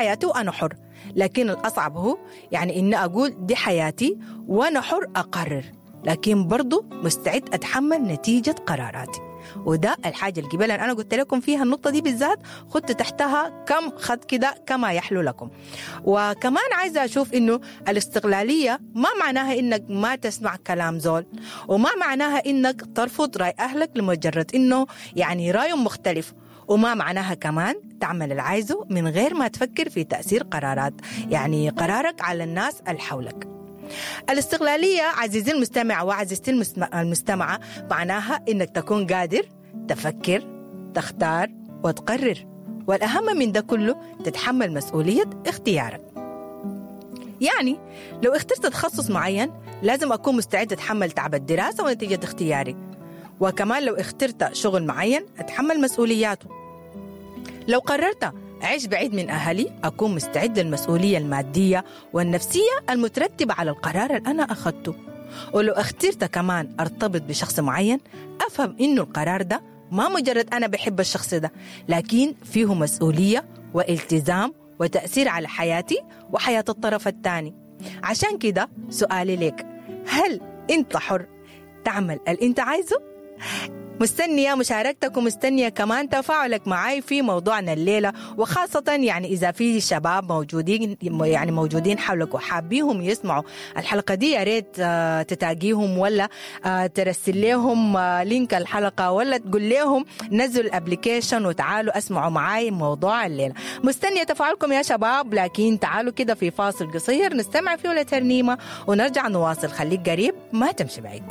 حياتي وأنا حر، لكن الأصعب هو يعني إني أقول دي حياتي وأنا حر أقرر، لكن برضو مستعد أتحمل نتيجة قراراتي. وده الحاجة اللي قبل أنا قلت لكم فيها النقطة دي بالذات، خدت تحتها كم خط كده كما يحلو لكم. وكمان عايزة أشوف إنه الاستقلالية ما معناها إنك ما تسمع كلام زول، وما معناها إنك ترفض رأي أهلك لمجرد إنه يعني رأيهم مختلف، وما معناها كمان تعمل اللي عايزه من غير ما تفكر في تأثير قرارات يعني قرارك على الناس اللي حولك. الاستقلالية عزيزي المستمع وعزيزتي المستمعة معناها إنك تكون قادر تفكر، تختار وتقرر، والأهم من ده كله تتحمل مسؤولية اختيارك. يعني لو اخترت تخصص معين لازم أكون مستعد أتحمل تعب الدراسة ونتيجة اختياري، وكمان لو اخترت شغل معين أتحمل مسؤولياته. لو قررت أعيش بعيد من أهلي أكون مستعد للمسؤولية المادية والنفسية المترتبة على القرار اللي أنا أخذته. ولو اخترت كمان أرتبط بشخص معين أفهم إنه القرار ده ما مجرد أنا بحب الشخص ده، لكن فيه مسؤولية والتزام وتأثير على حياتي وحياة الطرف الثاني. عشان كده سؤالي لك، هل أنت حر تعمل اللي أنت عايزه؟ مستنية مشاركتك ومستنية كمان تفاعلك معاي في موضوعنا الليلة، وخاصة يعني إذا في شباب موجودين يعني موجودين حولك وحابيهم يسمعوا الحلقة دي، يا ريت تتاقيهم ولا ترسل لهم link الحلقة، ولا تقول لهم نزلوا ال application وتعالوا اسمعوا معاي موضوع الليلة. مستنية تفاعلكم يا شباب، لكن تعالوا كده في فاصل قصير نستمع فيه لترنيمة ونرجع نواصل. خليك قريب ما تمشي بعيد.